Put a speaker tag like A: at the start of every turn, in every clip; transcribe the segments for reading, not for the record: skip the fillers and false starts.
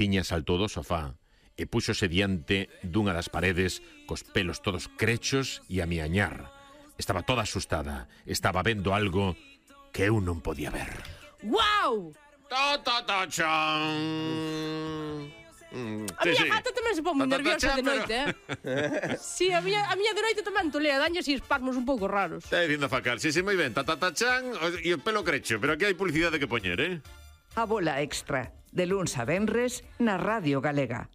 A: Tiña saltou do sofá e púxose diante dunha das paredes cos pelos todos crechos e a miañar. Estaba toda asustada. Estaba vendo algo que eu non podía ver.
B: Guau!
A: Ta-ta-ta-chan!
B: A miña gata tamén se pon moi nerviosa de noite, Si, a miña de noite tamén tolea, daña así espasmos un pouco raros.
A: Está dicindo a facar, si, moi ben, ta-ta-ta-chan e o pelo crecho, pero aquí hai publicidade que poñer,
C: A bola extra, de luns a venres, na Radio Galega.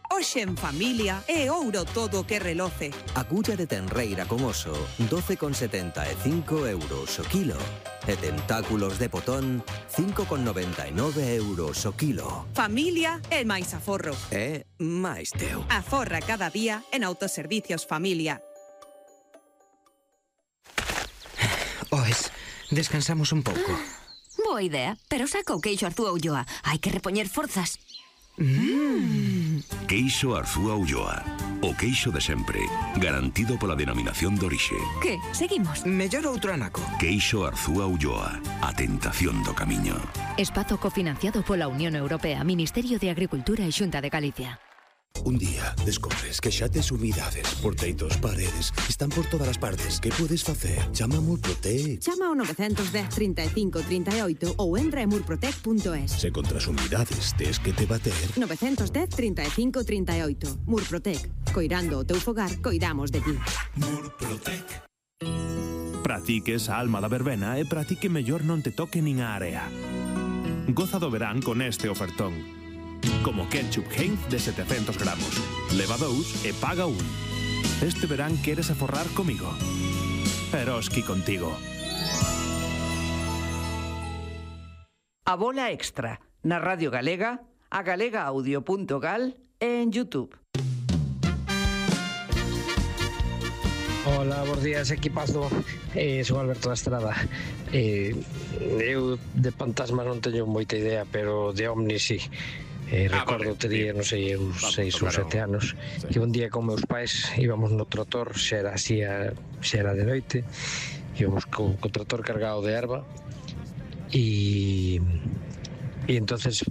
D: Hoxe en familia é ouro todo o que reloce.
E: Agulla de tenreira con oso, 12,75 euros o kilo. E tentáculos de potón, 5,99 euros o kilo.
D: Familia é máis aforro.
E: É máis teu.
D: Aforra cada día en Autoservicios Familia.
F: Oes, descansamos un pouco.
G: Boa idea, pero saca o queixo Arzúa Ulloa. Hai que repoñer forzas.
H: Queixo Arzúa Ulloa. O queixo de sempre, garantido pola denominación de orixe.
G: Que? Seguimos?
F: Mellor outro anaco.
H: Queixo Arzúa Ulloa. A tentación do camiño.
I: Espazo cofinanciado pola Unión Europea, Ministerio de Agricultura e Xunta de Galicia.
J: Un día descobres que xa tes humidades, porteitos, paredes, están por todas as partes. Que podes facer? Chama a Murprotec.
K: Chama ao 910 35 38 ou entra en murprotec.es.
J: Se contra as humidades tes que te bater.
K: 910 35 38. Murprotec. Coirando o teu fogar, coidamos de ti.
J: Murprotec.
L: Practiques a alma da verbena e practique mellor non te toque nin a area. Goza do verán con este ofertón. Como ketchup Heinz de 700 gramos. Leva 2 e paga 1. Este verán queres aforrar comigo. Eroski contigo.
C: A bola extra, na Radio Galega, a galegaaudio.gal e en YouTube.
M: Hola, bons días, equipazo. Son Alberto da Estrada. Eu de fantasmas non teño moita idea, pero de ovnis sí. Recordo tería, non sei, uns 6 ou 7 anos, que un día con meus pais íbamos no trator, xa era de noite, íbamos co trator cargado de erva e entonces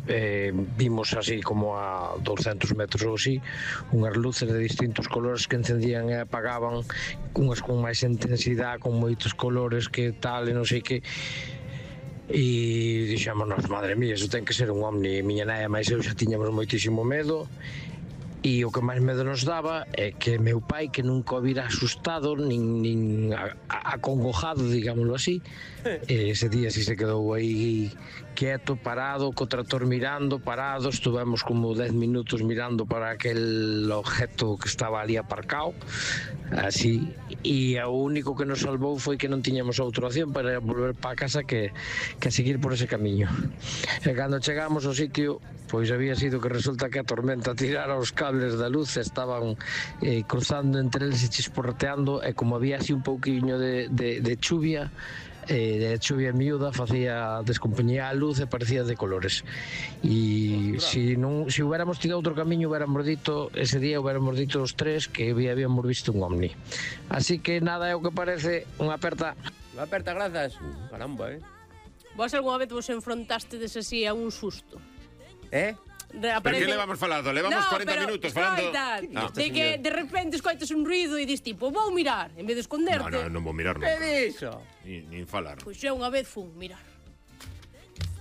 M: vimos así como a 200 metros ou así unhas luces de distintos colores que encendían e apagaban, unhas con máis intensidade, con moitos colores que tal e non sei que. E dixémonos, madre mía, iso ten que ser un ovni. Miña nai e máis eu xa tiñamos moitísimo medo. E o que máis medo nos daba é que meu pai, que nunca o vira asustado nin acongojado, digámoslo así, ese día si se quedou aí quieto, parado, co trator mirando, parado, estuvemos como 10 minutos mirando para aquel objeto que estaba ali aparcado, así, e o único que nos salvou foi que non tiñamos outra opción para volver para casa que seguir por ese camiño. E cando chegamos ao sitio, pois había sido que resulta que a tormenta tirara os cables da luz, estaban cruzando entre eles e chisporreteando, e como había así un pouquiño de chuvia, de chuvia miúda, descompañía a luz e parecía de colores. E se hubiéramos tirado outro camiño, ese día hubiéramos dito os tres que habíamos visto un ovni. Así que nada, é o que parece. Unha aperta.
N: Unha aperta, grazas. Caramba,
B: Vos algunha vez vos enfrontastes así a un susto?
A: Pero que levamos falando? Levamos 40 minutos falando.
B: De que de repente escoitas un ruido e dis tipo, vou mirar, en vez de esconderte.
A: Non vou mirar nunca.
N: Que dixo?
A: Nin falar.
B: Pois eu unha vez fun mirar.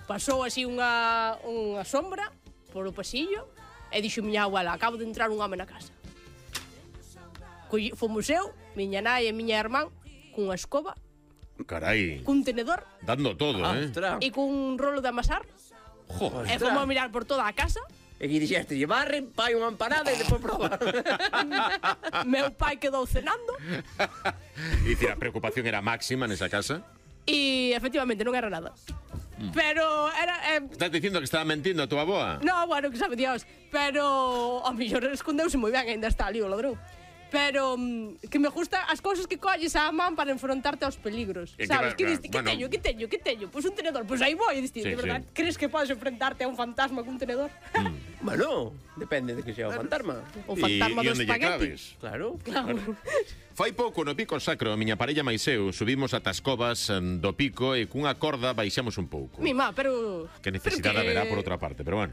B: Pasou así unha sombra por o pasillo e dixo miña abuela, acabo de entrar un home na casa. Fomos eu, miña nai e miña irmán cunha escoba.
A: Carai.
B: Cun tenedor.
A: Dando todo,
B: E cun rolo de amasar. E fomos a mirar por toda a casa.
N: E que dixeste, barren, pai unha empanada e depois probar.
B: Meu pai quedou cenando.
A: Dicir, a preocupación era máxima nesa casa.
B: E efectivamente non era nada. Pero era...
A: Estás dicindo que estaba mentindo a tua aboa?
B: No, bueno, que sabe Dios. Pero ao mellor escondeuse moi ben, ainda está ali o ladrón. Pero que me gusta as cousas que colles á man para enfrontarte aos peligros. Sabes, que diste, que teño? Pois un tenedor, pois aí vou. E diste, de verdade, crees que podes enfrentarte a un fantasma cun tenedor?
N: Bueno, depende de que sea o fantasma.
B: O fantasma do espagueti.
N: Claro.
A: Fai pouco no Pico Sacro, a miña parella máis eu subimos ata as covas do pico e cunha corda baixamos un pouco.
B: Mima, pero...
A: Que necesidade haberá por outra parte, pero bueno.